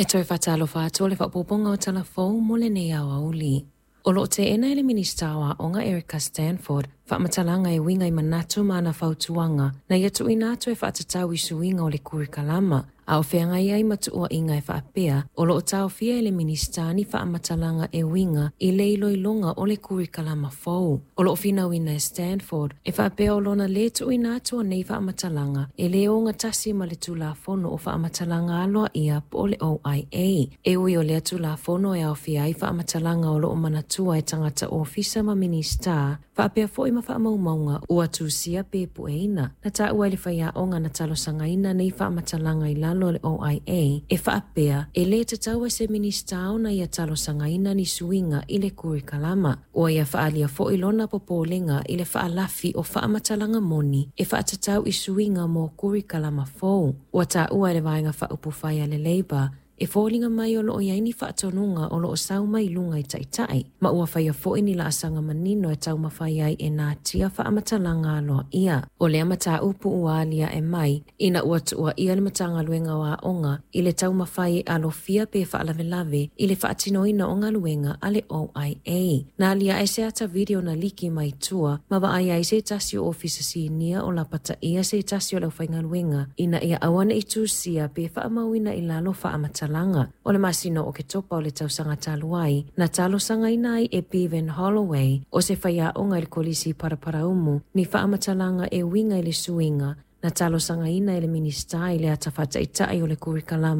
E toe faatalofa atu o le faaopoopoga o Tala Fou mo lenei aoauli. O lo o teena e le Minisita o Aoga Erica Stanford faamatalaga e uiga i manatu ma ana fautuaga na ia tuuina atu e faatatau i suiga o le kurikalama, a o feagai ai ma tuuaiga e faapea o lo o taofia e le Minisita ni faamatalaga e uiga i le iloiloga o le kurikalama fou. O lo o finauina e Stanford e faapea o lona lē tuuina atu o nei faamatalaga e lē ogatasi ma le Tulafono o Faamatalaga Aloaia po o le OIA. E ui o lea Tulafono e aofia ai faamatalaga o lo o manatua e tagata ofisa ma Minisita, faapea foi ma faamaumauga ua tusia pe pueina. Na taua e le faiaoga na talosagaina nei faamatalaga i lalo o le OIA e faapea e lē tatau i se Minisita ona ia talosagaina ni suiga i le kurikalama. Ua ia faaalia foi lona popolega i le faalafi o faamatalaga moni e faatatau i suiga mo kurikalama fou. Ua taua e le Vaega Faaupufai a le Labour e foliga mai o lo o i ai ni faatonuga o lo o sau mai luga i taitai, ma ua faia foi ni laasaga manino e taumafai ai e natia faamatalaga aloaia. O lea mataupu ua aliae mai ina ua tuuaia le Matagaluega o Aoga i le taumafai e alofia pe faalavelave i le faatinoina o galuega a le OIA. Na aliae se ata video na liki mai tua ma vaaia ai se tasi o ofisa sinia o lapataia se tasi o le aufaigaluega ina ia aua ne i tusia pe faamauina i lalo faamatalaga. O le masina o Oketopa o le tausaga talu ai, na talosagaina ai e Bevan Holloway o se faiaoga i le Kolisi Paraparaumu ni faamatalaga e uiga i le suiga na talosagaina e le Minisita i le ata faataitai o le kurikalama.